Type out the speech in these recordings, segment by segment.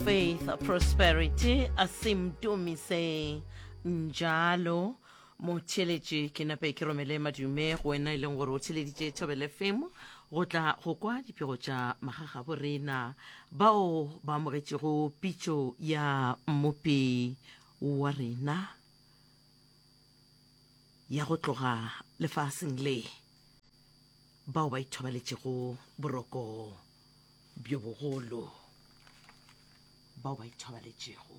Faith Prosperity Asimdumise Njalo motheeletši ke nape ke romele madume go wena e leng gore o theleditše Thobela FM go tla go kwa dipego tša magagabo rena bao ba amogetšego pitšo ya mmopi wa rena ya go tloga lefaseng le bao ba ithobaletšego boroko bjo bogolo bao ba ithobaletšego.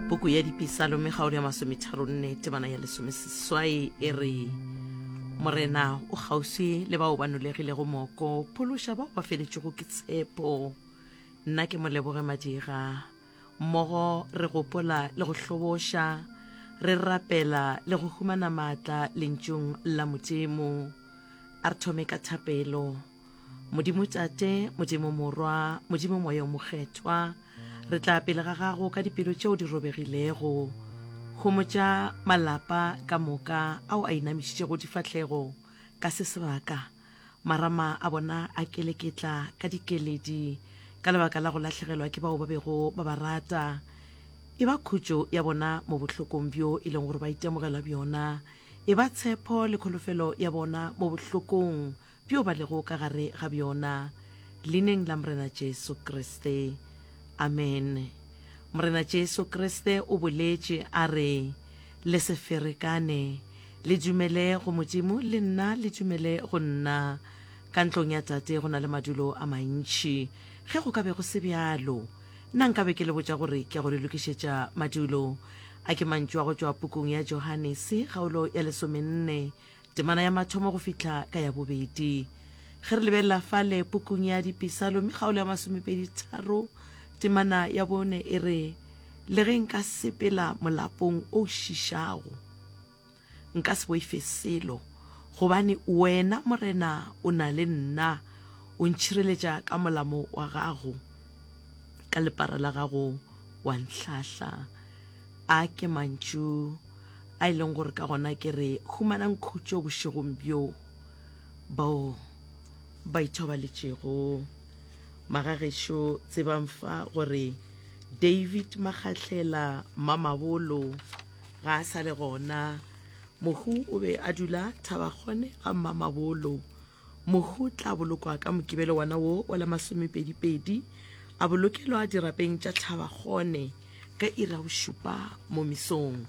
Puku ya Dipisalome kgaolo ya masometharonne temana ya lesomeseswai e re Morena o kgauswi le bao ba nolegilego moko, phološa bao ba feletšego ke tshepo. Nna ke moleboge Madira. Mmogo re gopola le go hloboša, re rapela le go humana maatla Lentšung la Modimo. A re thome ka thapelo. Modimo Tate, Modimo Morwa, Modimo Moya o Mokgethwa, re tla pele ga gago ka dipelo tšeo di robegilego. Homotša malapa ka moka ao a inamišitšego difahlego ka se sebaka. Marama a bona a keleketla ka dikeledi ka lebaka la go lahlegelwa ke bao ba bego ba ba rata. E ba khutšo ya bona mo bohlokong bjo e leng gore ba itemogela bjona. E ba tshepo le kholofelo ya bona mo bohlokong bjo ba lego ka gare ga bjona. Leineng la Morena Jesu Kriste. Amene. Morena Jesu Kriste o boletše a re, Le se ferekane. Le dumele go Modimo, le nna le dumele go nna. Ka ntlong ya Tate go na le madulo a mantši. Ge go ka be go se bjalo, nna nka be ke le botša gore ke ya go le lokišetša madulo. A ke mantšu a go tšwa pukung ya Johanese, kgaolo ya lesomenne, temana ya mathomo go fihla ka ya bobedi. Ge re lebelela fale pukung ya Dipisalome, kgaolo ya masomepeditharo, temana ya bone e re, Le ge nka sepela molapong o šišago, nka se boife selo, gobane wena, Morena, o na le nna, o ntšhireletša ka molamo wa gago, ka lepara la gago wa ntlhahla. A ke mantšu a e leng gore ka gona ke re humanang khutšo bošegong bjo bao ba ithobaletšego. Magagešo, tsebang fa gore David Magahlela Mamabolo ga a sa le gona. Mohu o be a dula Thabakgone ga Mmamabolo. Mohu o tla bolokwa ka Mokibelo wona wo wa la masomepedipedi, a bolokelwa dirapeng tša Thabakgone ka iri ya bošupa mo mesong.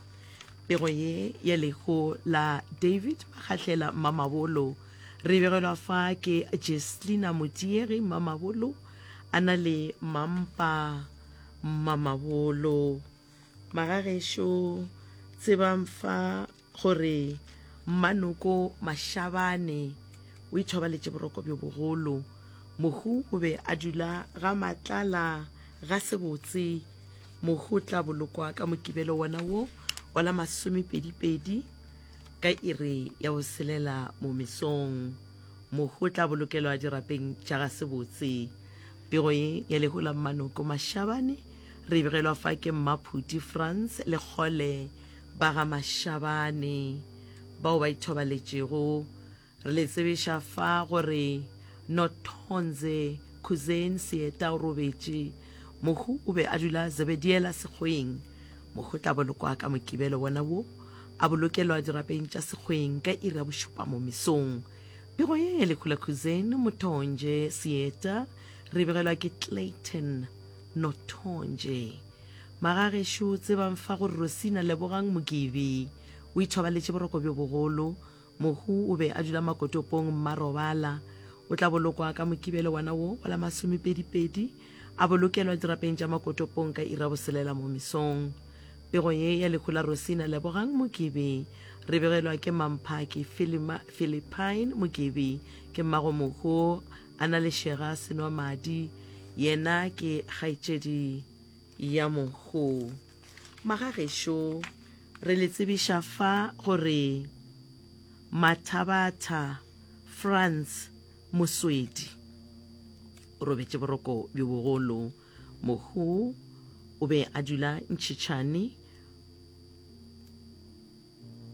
Pego ye ya lehu la David Magahlela Mmamabolo re e begelwa fa ke Jeslina Modiegi Mmamabolo a na le Mampa Mmamabolo. Magagešo tsebang fa gore Mmanoko Mashabane o ithobaletše boroko bjo bogolo. Mohu o be a dula ga Matlala ga Sebotse. Mohu o tla bolokwa ka Mokibelo wona wo wa la masomepedipedi ka iri ya boselela mo mesong. Mohu o tla bolokelwa dirapeng tša ga Sebotse. Pego ye ya lehu la Mmanoko Mashabane re e begelwa fa ke Mmaphuti Frans le Kgole ba ga Mashabane bao ba ithobaletšego. Re le tsebiša fa gore Nothonze Khuzen Seeta o robetše. Mohu o be a dula Zebediela Sekgweng. Mohu o tla bolokwa ka Mokibelo wona wo, a bolokelwa dirapeng tša Sekgweng ka iri ya bošupa mo mesong. Pego ye ya lehu la Khuzen Mothonje Seeta re e begelwa ke Clayton Nothonje. Magagešo tsebang fa gore Rosina Lebogang Mokibi o ithobaletše boroko bjo bogolo. Mohu o be a dula Makotopong Mmarobala. O tla bolokwa ka Mokibelo wona wo wa la masomepedipedi, a bolokelwa dirapeng tša Makotopong ka iri ya boselela mo mesong. Pego ye ya lehu la Rosina Lebogang Mokibi re begelwa ke Mamphaki Philippine Mokibi, ke mmago mohu a na le Shega Senwamadi, yena ke kgaetšedi ya mohu. Magagešo, re le tsebiša fa gore Mathabatha Frans Moswedi o robetše boroko bjo bogolo. Mohu o be a dula Ntšhitšhane.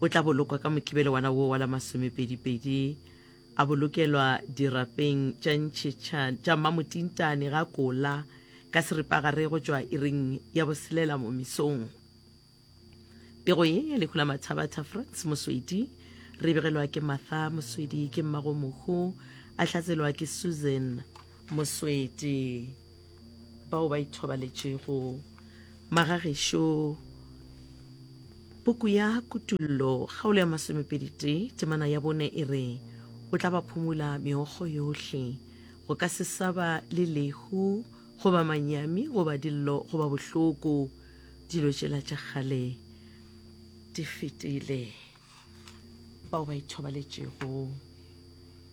O tla bolokwa ka Mokibelo wana wo wa la masomepedipedi. A bolokelwa dirapeng tša ntšhetšha tša Mmamotintane ga Kola ka seripagare go tšwa iring ya boselela mo mesong. Pego ye ya lehu la Mathabatha Frans Moswedi re begelwa ke Martha Moswedi ke mmago mohu a hlatselwa ke Susan Moswedi bao ba ithobaletšego magagešo. Puku ya Kutullo kgaolo ya masomepeditee temana ya bone e re, O tla ba phumula meokgo yohle, go ka se sa ba le lehu goba manyami goba dillo goba bohloko, dilo tšela tša kgale di fetile. Bao ba ithobaletšego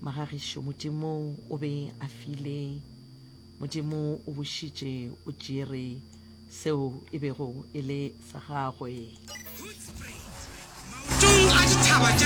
magagišo, Modimo o be a file, Modimo o bušitše, o tšere seo e bego e le sa gagwe. Hoedspruit, maotong a dithaba tša.